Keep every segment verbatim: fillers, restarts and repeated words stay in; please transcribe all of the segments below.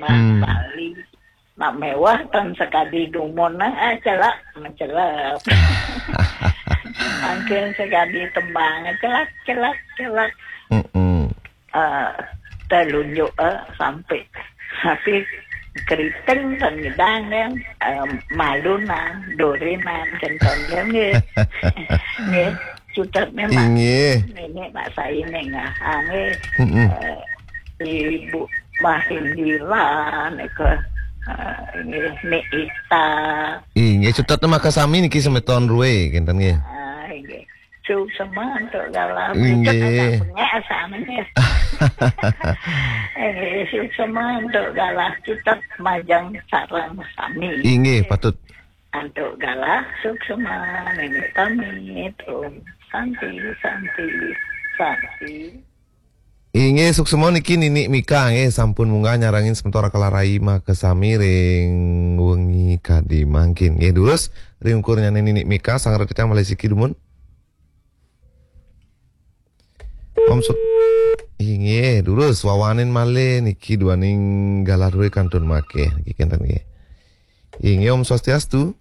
Nah, hmm. Bali. Nak mewah tan sekadi dumun, ah, celak, mencelak. Angkin sekadi tembang, celak, celak, celak. Mm-mm. Eh, telunjuk, eh, sampai. Tapi keriting tan ngidang, kan. Eh, malunan, durinan, kenton, kan, nggih. Nggih, cutet memang. Inggih. Nenek mak saya nengah, nggih. Mm-mm. Eh, Ibu Mahindila, nika, eh, nggih, Nek Ita. Inggih, cutet maka sami niki semeton Rue, kinten nggih. Ah, inggih. Suksema antuk galah. Inggih. Cutet agak bengek asane nggih. Inggih, suksema antuk galah cutet majeng sareng sami. Inggih, patut. Antuk galah suksema, Nenek pamit. Om Santi, Santi, Santi. Inggih, suksema niki Ninik Mika nggih, sampun munggah nyarengin semeton Rakala Rai makasami ring wengi kadi mangkin. Nggih, durus ring ukurnyane Ninik Mika, sang rekan malih siki dumun. Om Swa-, inggih, durus wawanin malih niki duaning galah Rue kantun makeh niki kenten nggih. Inggih, Om Swastiastu.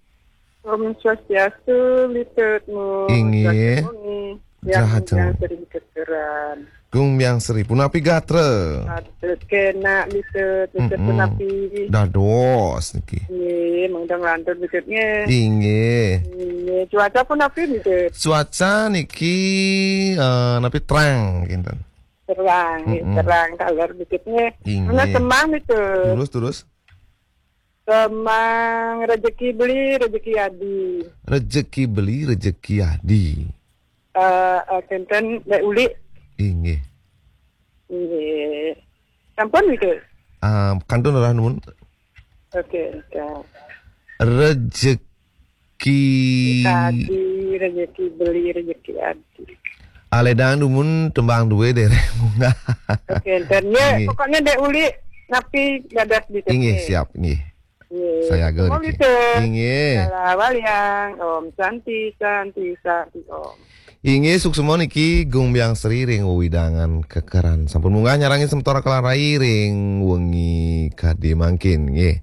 Om Swastiastu, Litut Mu. Inggih. Sahat wengi. Sahat wengi. Yang sering kekeran. Gung Biang Sri, punapi gatra? Patut kenak, Litut, Litut. Mm-mm. Punapi? Dados niki. Nggih, mengdang lantur Litut nggih. Inggih. Nggih, cuaca punapi, Litut? Cuaca niki, eh, napi terang kinten. Terang, nggih, mm-mm, terang kaler Litut nggih. Inggih. Mana semang, Litut? Terus, terus. Semang rejeki beli, rejeki adi. Rejeki beli, rejeki adi. Eh, eh, kenten Dek Uli. Inggih. Inggih. Sampun nggih? Ah, kantun rah nuwun. Oke, oke. Rejeki adi, rejeki beli, rejeki adi. Aledang dumun tembang due dereng munggah. Oke, dan ya, inggih, pokoknya Dek Uli napi dados di inggih, sini. Siap, inggih. Inggih. Saya agel niki. Gitu. Inggih. Salah waliang, Om Santi, Santi, Santi, Om. Inggih, suksema niki Gung Biang Sri ring wewidangan Kekeran. Sampun munggah nyarengin semeton Rakala Rai ring wengi kadi mangkin, nggih.